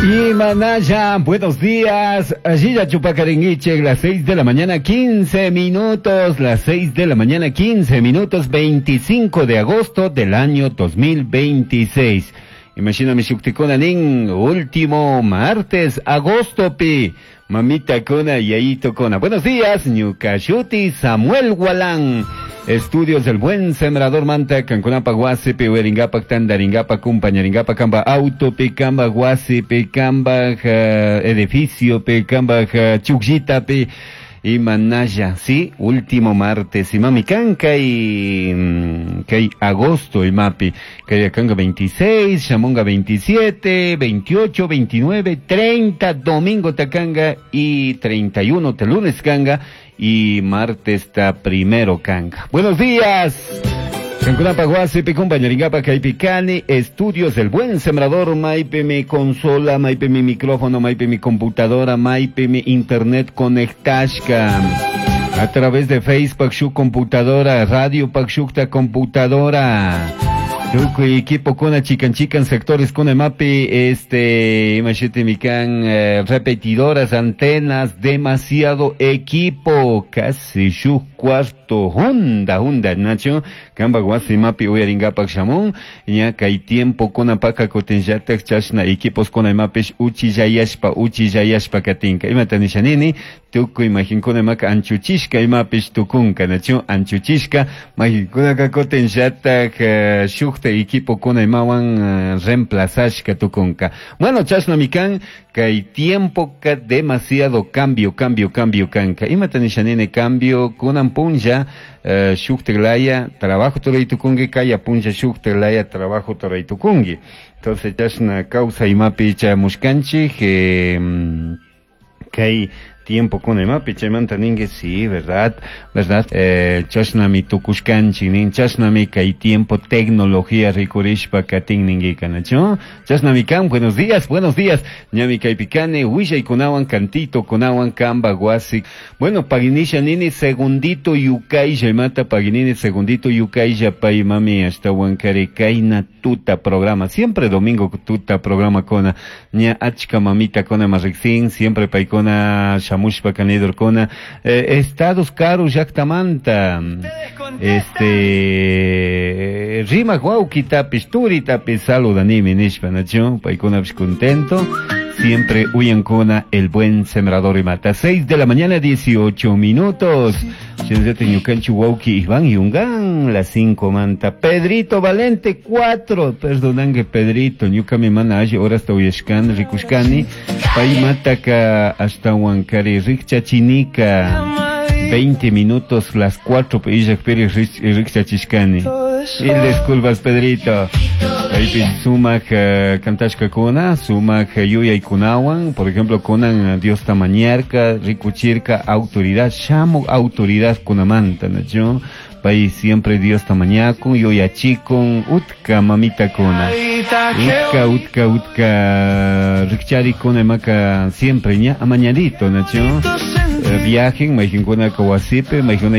Y Manaya, buenos días. Allí ya Chupacaringuiche, las 6 de la mañana, 15 minutos. Las 6 de la mañana, 15 minutos, 25 de agosto del año 2026. Imagina mi nin, último martes, agosto pi. Mamita Kona y Yaito Kona. Buenos días, Ñucashuti, Samuel Gualán. Estudios del Buen Sembrador Manta, Cancunapa, Guasi, Pihueringapa, Tandaringapa, Cumpañaringapa, Camba, Auto, Picamba, Guasi, Picamba, Edificio, Picamba, Chugjita, Pi, y Manaya, sí, último martes, y mami canca y kay agosto y mapi, kay kanga 26, shamonga 27, 28, 29, 30, domingo takanga y 31 te lunes kanga y martes ta primero kanga. Buenos días. Cancunapa, Guasipi, compañeringapa, Caipicani, Estudios del Buen Sembrador, Maipe mi consola, Maipe mi micrófono, Maipe mi computadora, Maipe mi internet conectashka. A través de Facebook, su computadora, radio Pakshukta computadora. Tukuy equipo kuna chican chican sectores kuna mapi este imashiti mikan repetidoras antenas demasiado equipo casi shu cuarto honda honda nacho kamba wasi mapi uyaringapak shamun ña kay tiempo kuna paka kutinllatak chashna equipos kuna mapish uchillayashpa uchillayashpa katinka imata nishanini tukuy majinkuna maka anchuchishka imapish tukunka nacho anchuchishka majinkuna kutinllatak shuk equipo kuna imawan reemplazashka tukunka. Bueno, chashna mikan, kay tiempo ka demasiado cambio, cambio, cambio kanka. Imata nishanini cambio kunan punlla, shukteglaya, trabajo tukungi, kaya punlla shukteglaya, trabajo tukungi. Entonces, chashna causa imapi chamushkanchik, kay tiempo con el mapi chaymanta ningue sí, verdad, verdad, chashnami tukushkanchik nin chashnami kay tiempo tecnología rikurishpa katin ningue kanacho chashnami kan, buenos días, ñami kaypikani willaykunawan cantito kunawan kamba wasi. Bueno, paginisha nini segundito yukaylla imata paginini segundito yukaylla pay mami ashtawan kari kayna tuta programa, siempre domingo tuta programa kona ña achka mamita kona marriksin, siempre paykuna shamushpa kanidorkuna estados karu llaktamanta rimaq wawkitapish turitapish saludanimi nishpa nacho paykunapish contento siempre uyankuna el buen sembrador y mata. 6 de la mañana 18 minutos. Ñukanchik wawki Iván Yungan, las 5 manta. Pedrito Valente 4, perdonangue Pedrito, ñukami mana alli horasta uyashkani rikushkani. Pay mataka hasta Huancari rikchachinika. 20 minutos las 4 illakpiri rikchachishkani. Mil disculpas Pedrito. Ahí sumak kantashka kuna, sumak yuyaykunawan, por ejemplo, kunan Dios tamañarka, rikuchirka, autoridad, shamu autoridad kunamanta, ¿no? Pay siempre Dios tamañakun, yuyachikun, utka mamita kuna. Utka, utka, utka, rikchari kuna maka siempre, ña, amañadito, ¿no? Viajen, majinkuna kawasipe, majinkuna.